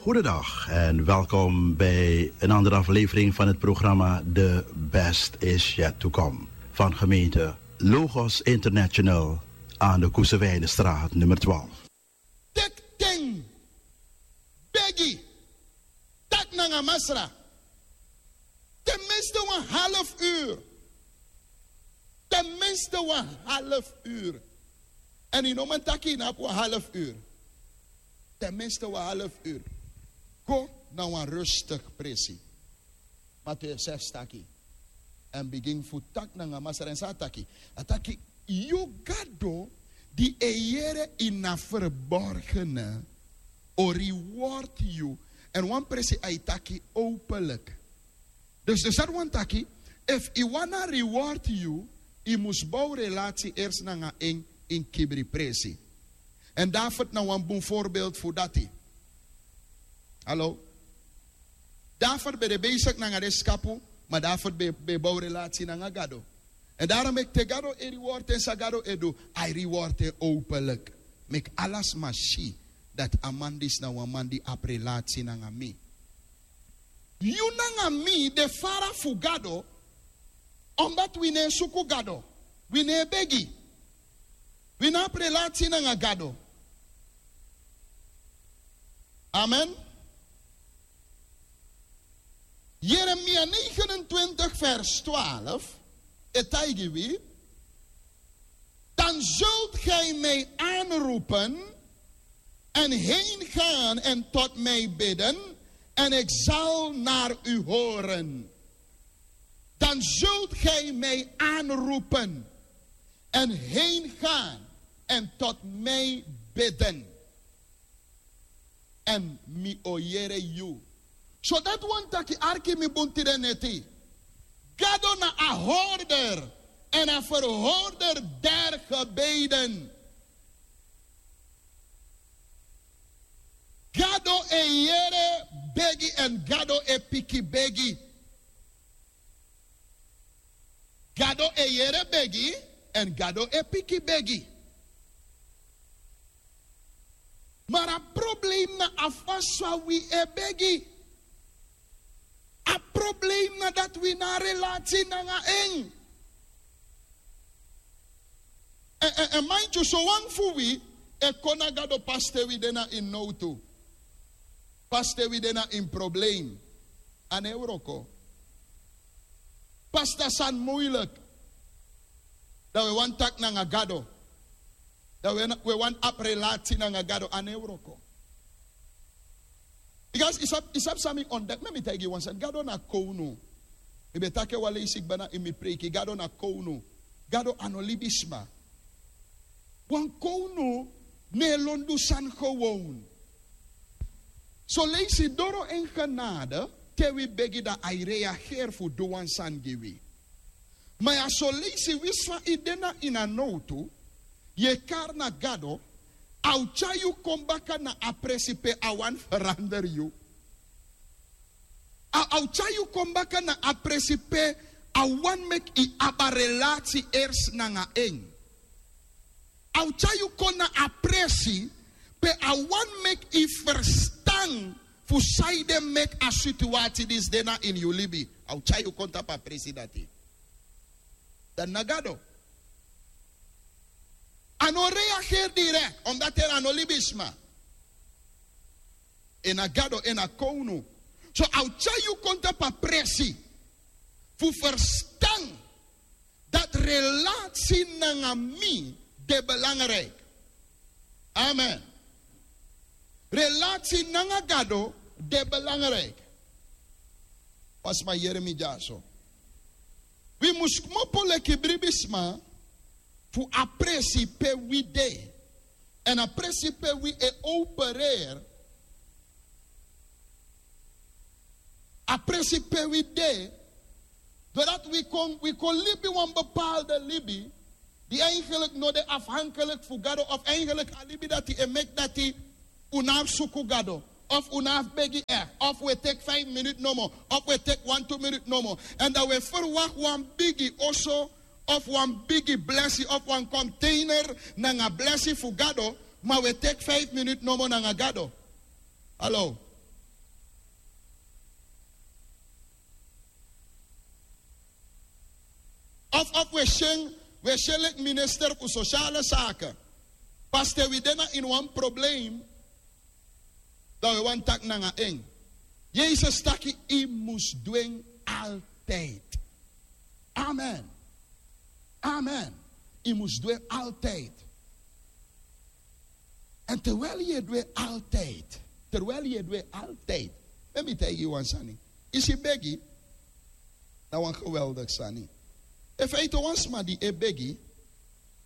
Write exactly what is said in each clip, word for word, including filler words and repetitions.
Goedendag en welkom bij een andere aflevering van het programma The Best Is Yet To Come van gemeente Logos International aan de Koesewijnenstraat nummer twaalf. Teki ten, begi, taki nanga Masra. Ten minste wan half uur. Ten minste wan half uur. En yu no man taki yu no abi wan half uur. Ten minste wan half uur. Go na wan rustig presi. Mateo sefs taki. Èn bigin fu taki nanga Masra èn san a taki. A taki, yu Gado di e yere ini a verborgene o reward yu. Èn wan presi a e taki openlijk. Dus dus dati wani taki, efu yu wani a reward yu, yu mus bow relasi ersi nanga en ini kibri presi. Èn David na wan bun voorbeeld fu dati. Hallo. David ben de besigi nanga den skapu, ma David ben ben bow relasi nanga Gado. Èn daro meki te Gado e reward en san Gado e du, a e reward en openlijk. Meki ala sma si dati a man disi na wan man di abi relasi nanga mi. Yu nanga mi de fara fu Gado. Omdat wi no e suku Gado. Wi no e begi. Wi no abi relasi nanga Gado. Amen. Jeremia negenentwintig vers twaalf e taigi wi. Dan zult gij mij aanroepen en heen gaan en tot mij bidden, en ik zal naar u horen. Dan zult gij mij aanroepen en heen gaan en tot mij bidden. Èn mi o yere yu. So dati wani taki, arki mi bun tide neti. Gado na a hoorder en a verhoorder der gebeden. Gado e yere begi èn Gado e piki begi. Gado e yere begi èn Gado e piki begi. Ma a problem na a fasi san wi e begi. A problem na dati wi no abi relasi nanga en. Èn mind yu, sowan fu wi e kon na Gado pas te wi de na ini nowtu. Pas te wi de na ini problem. A no e wroko. Pas te a sani moeilijk. Dan wi e wani taki nanga Gado. Dan wi e wani abi relasi nanga Gado, a no e wroko. Because yu sabi san mi ontdek, meki mi taigi yu wan sani. Gado na kownu. Mi ben taki en wan leisi kba na ini mi preiki. Gado na kownu. Gado a no libisma. Wan kownu no e lon du sani gewoon. Son leisi doro en genade, te wi begi dan a e reageri fu du wan sani gi wi. Ma ya son leisi winsi fa yu de na ini a nowtu, yu e kari na Gado, a o tyari yu kon baka na a presi pe a wani feranderi yu. A o tyari yu kon baka na a presi pe a wani meki yu abi a relasi ersi nanga en. A o tyari yu kon na a presi pe a wani meki yu ferstan fu san ede meki a situasi disi de na ini yu libi. A o tyari yu kon tapu a presi dati. Dan na Gado. A no reageri direkt, omdat en a no libisma. En na Gado, en na kownu. So a o tyari yu kon tapu a presi fu ferstan dati relasi nanga mi de belangrijk. Amen. Relasi nanga Gado de belangrijk. Wan sma yere mi dyaso. Wi mus kmopo leki bribisma fu a presi pe wi de. Èn a presi pe wi e opereri. A presi pe wi de. Doordat wi kon wi kon libi wan bepaalde libi di eigenlijk no de afhankelijk fu Gado, of eigenlijk a libi dati e meki dati un no abi suku Gado, of un no abi begi echt, of wi e teki vijf minut nomo, of wi e teki wan tu minut nomo. Èn dan wi e ferwakti wan bigi oso, of wan bigi blesi, of wan container nanga blesi fu Gado, ma wi e teki vijf minut nomo nanga Gado. Hallo. Of of we sing we sing leki minister fu sociale sake. Paste wi dena in wan probleem. Dan we wan tak nanga en. Yesus taki i mus dwen altijd. Amen. Amen. I mus dwen altijd. En terwijl ye dwe altijd, terwijl ye dwe altijd, ben mi taigi wan sani. Isi begi. Na wan geweldig sani. Efu ito wan sma di e begi,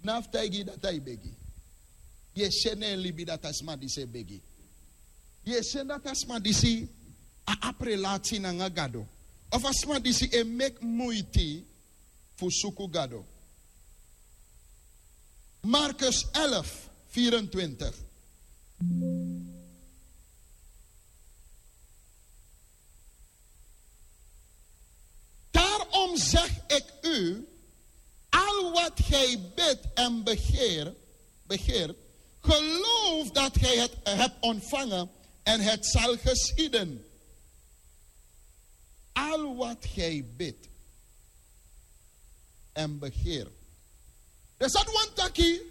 na fu taigi dat ai begi. Ye sene libi dat a sma di se begi. Ye sene dat a sma di si a aprelati nanga gado, of a sma di si e mek muiti fu suku gado. Markus elf vierentwintig. Daarom zeg ik u, al wat gij bidt en begeer, begeert, geloof dat gij het hebt ontvangen en het zal geschieden. Al wat gij bidt en begeert. Dus dat wantaki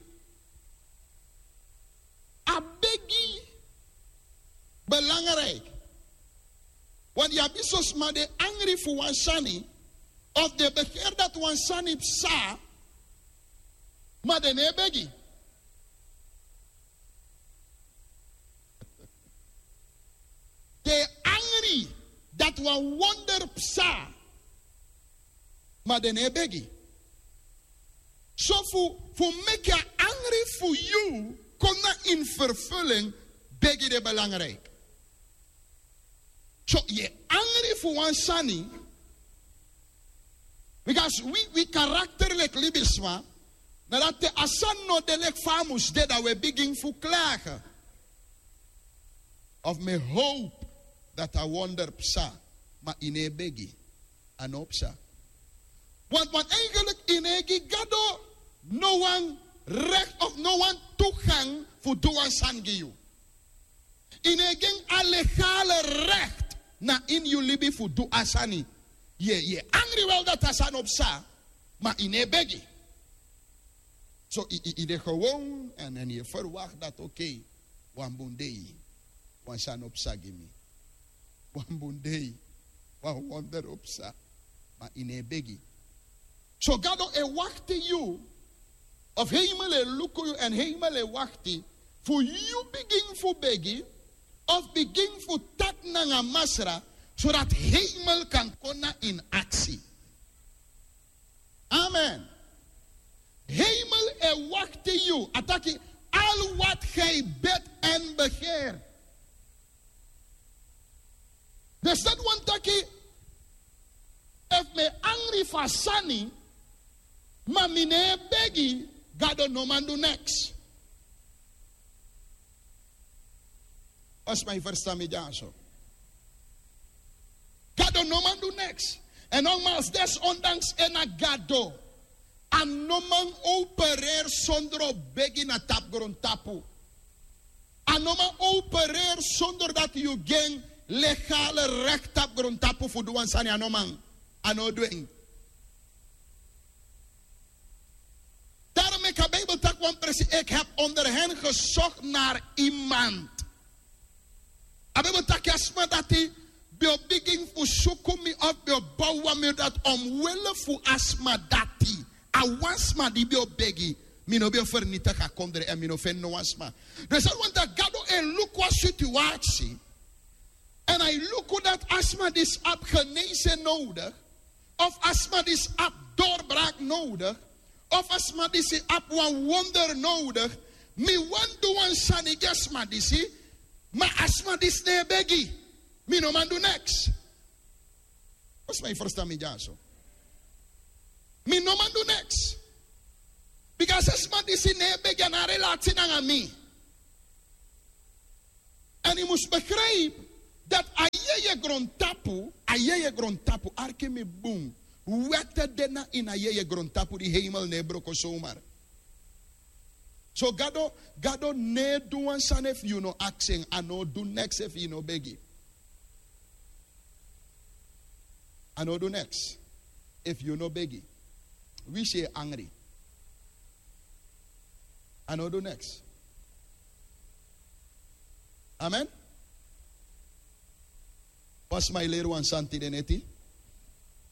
a begi belangrijk. Want ya biso sma de angri fu wan sani, of de begeer dat wan sani psa, maar de ne begi. De angri dat wan wonder psa, maar de ne begi. So fu fu meki a angri fu yu kon na in vervulling, begi de belangrijk. So ye angri fu wan sani. Because wi wi karakter leki libisma, na dati a sani no de leki fa a mus de, dan we bigin fu klage. Of mi hoop dat a wonder psa, maar i ne begi. A no psa. Want want eigenlijk i ne gi gado no wan recht of no wan toegang fu du wan sani gi yu. I ne gi en a legale recht na in yu libi fu du a sani. Ye ye angri wel dat a sani o psa, maar i ne begi. So i i i de gewoon en en ye verwacht dat oké, wan bun dei wan sani o psa gi mi. Wan bun dei wan wonder o psa, maar i ne begi. So gado e wakti yu, of hemel e luku yu en hemel e wakti fu yu bigin fu begi, of bigin fu taki nanga masra, zodat hemel kan kon na in aksi. Amen. Hemel e wakti yu, a taki, al wat gij bid en begeer. Dus dat wantaki, efu mi e angri fu a sani, ma mi no e begi, gado no man du neks. Wan sma e ferstan mi dyaso. Gado no man du neks. En nogmaals, desondanks en na gado, a no man opereri sondro begi na tapu grontapu. A no man opereri sondro dati yu gi en legale rekti tapu grontapu fu du wan sani, a no man. A no du en. Darom meki a bijbel taki wan presi, ik heb onder hen gezocht naar iemand. A bijbel taki a sma dati ben o bigin fu suku mi of ben o bow wan miri dati omwille fu a sma dati. A wan sma di ben o begi, mi no ben o fernitigi a kondre en mi no feni no wan sma. Dus a wani taki gado e luku a situasi. En a e luku dati a sma disi abi genese nodigi, of a sma disi abi dorbrak nodigi, of a sma disi abi wan wonder nodigi. Mi wani du wan sani gi a sma disi. Ma a sma disi no e begi. Mi no man du neks. Wan sma e ferstan mi dyaso. Mi no man du neks. Bika a sma disi no e begi, a no abi relati nanga mi. En yu mus begrijpi dati a yeye grontapu, a yeye grontapu, arki mi bun. Wèt de na ini a yeye grontapu di hemel no e broko somar. So gado, gado no e du wan sani efu yu no aksi en. A no o du neks efu yu no begi. A no o du neks efu yu no begi. Wi si e angri. A no du neks. Amen. Pas mai leri wan santi den eti.